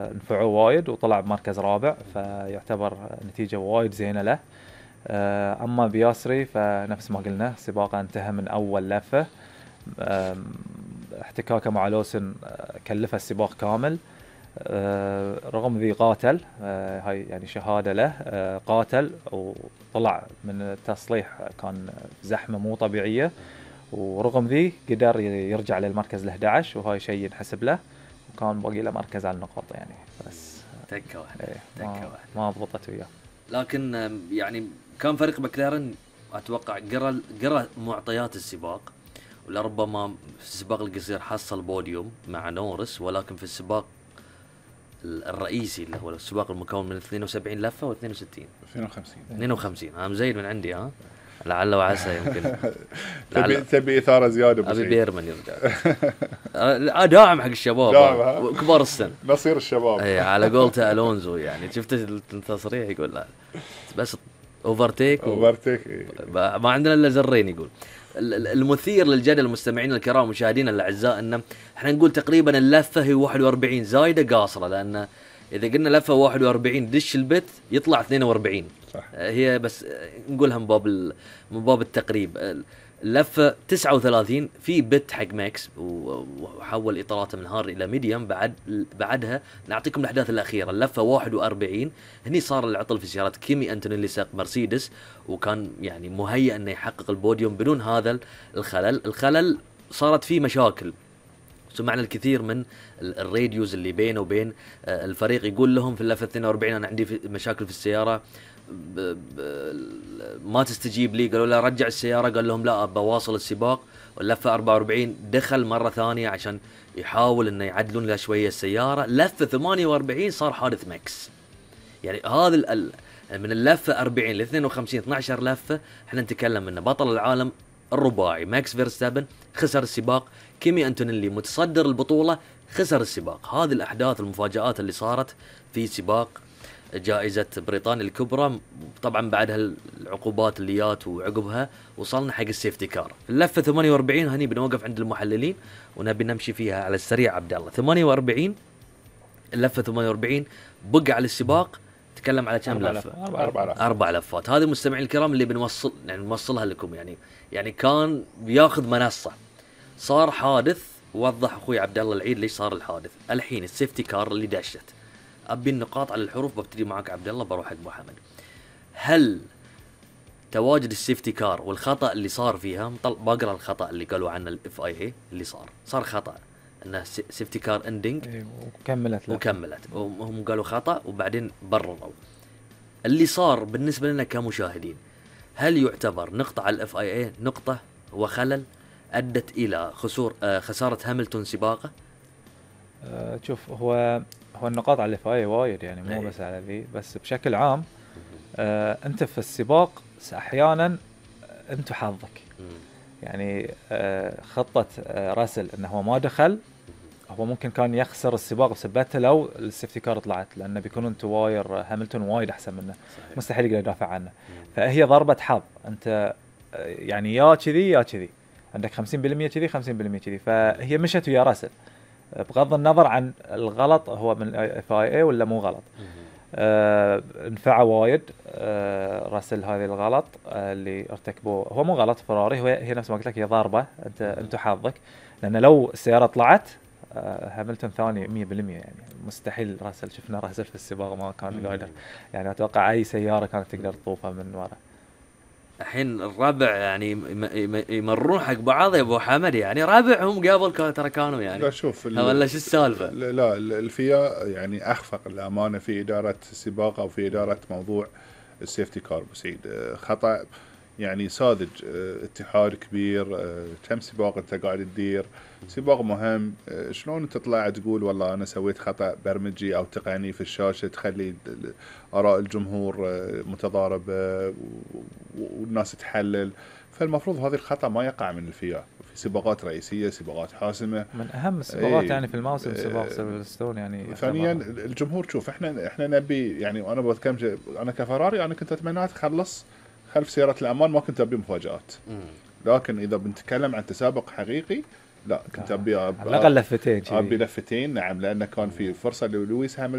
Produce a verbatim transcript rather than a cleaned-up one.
نفعه وايد وطلع بمركز رابع، فيعتبر نتيجة وايد زينة له. أما بياسري فنفس ما قلنا سباقه انتهى من أول لفة، احتكاكه مع لوسن كلفه السباق كامل. رغم ذي قاتل، هاي يعني شهادة له، قاتل وطلع من التصليح، كان زحمة مو طبيعية، ورغم ذي قدر يرجع للمركز الأحد عشر، وهاي شيء ينحسب له، وكان باقي له مركز على النقاط يعني. بس تكة واحدة ايه تكة ما, واحدة ما ضبطت وياه. لكن يعني كان فريق مكلارن اتوقع قرا قرا معطيات السباق، ولربما في السباق القصير حصل بوديوم مع نورس، ولكن في السباق الرئيسي اللي هو السباق المكون من اثنين وسبعين لفة و اثنين وستين اثنين وخمسين اثنين وخمسين انا مزيد من عندي ها لعل وعسى يمكن تبي تبي اثاره زياده بس ابي بيرمن يرجع داعم حق الشباب كبار السن نصير الشباب اي على قولته الونزو يعني شفت التصريح يقول لا بس اوفرتيك اوفرتيك ما عندنا الا زرين. يقول المثير للجدل المستمعين الكرام ومشاهدينا الاعزاء ان احنا نقول تقريبا اللفه هي واحد وأربعين زايده قاصره، لان اذا قلنا لفه واحد وأربعين دش البت يطلع اثنين وأربعين صح. هي بس نقولها من باب من باب التقريب. اللفه تسعة وثلاثين في بت حق ماكس وحول اطاراته من هار الى ميديوم. بعد بعدها نعطيكم الاحداث الاخيره. اللفه واحد وأربعين هني صار العطل في سياره كيمي أنتونيلي ساق مرسيدس، وكان يعني مهيئ انه يحقق البوديوم بدون هذا الخلل. الخلل صارت فيه مشاكل، سمعنا الكثير من الراديوز اللي بينه وبين الفريق يقول لهم في اللفه اثنين وأربعين انا عندي مشاكل في السياره ب ب ما تستجيب لي. قالوا له رجع السياره، قال لهم لا بواصل السباق. واللفه أربعة وأربعين دخل مره ثانيه عشان يحاول انه يعدلون له شويه السياره. لفه ثمانية وأربعين صار حادث ماكس. يعني هذا ال من اللفه أربعين ل اثنين وخمسين اثني عشر لفه احنا نتكلم انه بطل العالم الرباعي ماكس فيرستابن خسر السباق، كيمي أنتونيلي متصدر البطوله خسر السباق. هذه الاحداث المفاجآت اللي صارت في سباق جائزة بريطانيا الكبرى. طبعا بعدها العقوبات اللي جات وعقبها وصلنا حق السيفتي كار. اللفة ثمانية وأربعين هني بنوقف عند المحللين ونبي نمشي فيها على السريع. عبد الله ثمانية وأربعين اللفة ثمانية وأربعين بقى على السباق تكلم على كم لفة؟ أربع لفات. أربع لفات. هذه المستمعين الكرام اللي بنوصل يعني نوصلها لكم. يعني يعني كان بياخذ منصة، صار حادث. وضح أخوي عبد الله العيد ليش صار الحادث. الحين السيفتي كار اللي دشت، أبي النقاط على الحروف. ببتدي معك عبد الله بروح حق أبو حمد. هل تواجد السيفتي كار والخطأ اللي صار فيها، بقرأ الخطأ اللي قالوا عنه الاف اي اي اللي صار صار خطأ انه سيفتي كار اندنج وكملت لك. وكملت وهم قالوا خطأ وبعدين برروا اللي صار. بالنسبة لنا كمشاهدين هل يعتبر نقطة على الاف اي اي نقطة وخلل ادت الى خسور آه خسارة هاملتون سباقه؟ أه شوف هو هو النقاط على الاف اي وايد يعني مو بس على ذي، بس بشكل عام أه انت في السباق احيانا انت حظك يعني. أه خطة أه راسل انه هو ما دخل، هو ممكن كان يخسر السباق بسبته لو السيفتي كار طلعت، لانه بيكونون تواير هاملتون وايد احسن منه. صحيح. مستحيل يقدر يدافع عنه. مم. فهي ضربة حظ. انت يعني يا كذي يا كذي، عندك خمسين بالمية كذي خمسين بالمية كذي، فهي مشت ويا راسل بغض النظر عن الغلط هو من اف اي اي ولا مو غلط. آه انفع وايد آه راسل هذه الغلط آه اللي ارتكبوه. هو مو غلط فراري، هو هي نفس ما قلت لك هي ضربه. انت انت حظك، لان لو السياره طلعت آه هاملتون ثاني مية بالمية يعني مستحيل راسل. شفنا راسل في السباق ما كان قادر يعني، اتوقع اي سياره كانت تقدر تطوفها من ورا. الحين الربع يعني يمرون حق بعض يا ابو حمد، يعني ربعهم قبل ترى كانوا يعني. لا شوف ولا شو السالفه؟ لا الفيا يعني اخفق الامانه في اداره السباق او في اداره موضوع السيفتي كار. بسعيد خطا يعني ساذج. اتحاد كبير، كم سباق انت قاعد تدير، سباق مهم، شلون انت تطلع تقول والله انا سويت خطا برمجي او تقني في الشاشه تخلي اراء الجمهور متضاربه والناس تحلل. فالمفروض هذا الخطا ما يقع من الفيا في سباقات رئيسيه، سباقات حاسمه، من اهم السباقات ايه يعني في الموسم سباق سيلفرستون يعني. ثانيا الجمهور شوف احنا احنا نبي يعني، وانا بتكلم انا كفراري انا كنت اتمنى تخلص خلف سياره الامان، ما كنت ابي مفاجات. لكن اذا بنتكلم عن تسابق حقيقي لا كنت ابي على الاقل لفتين ابي كذي. لفتين، نعم، لانه كان في فرصه للويس هاملتون